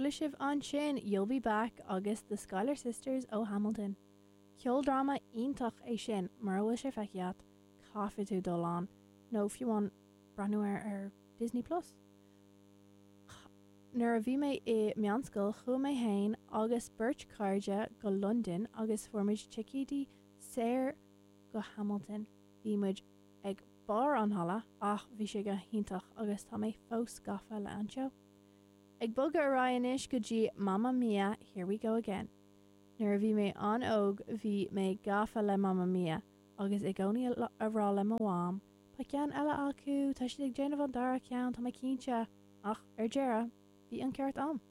Chuala sibh ansin You'll Be Back agus The Schuyler Sisters ó Hamilton. Ceoldráma iontach é sin, mura bhfuil sé feicthe agat, caithfidh tú dul ann, nó fiú amháin breathnú air ar Disney Plus. Nuair a bhí mé i meánscoil chuaigh mé fhéin agus beirt cairde go Londain agus fuair muid ticéidí saor go Hamilton. Bhí muid ag barr an halla ach bhí sé go hiontach agus tá mé fós gafa le an seó. Ag bogadh ar aghaidh anois go dtí Mamma Mia Here We Go Again. Nuair a bhí mé an-óg bhí mé gafa le Mamma Mia agus i gcónaí a rá le mo mham, Beidh ceann eile acu, tá siad ag déanamh an dara ceann, tá mé cinnte! Ach ar deireadh, bhí an ceart a'm.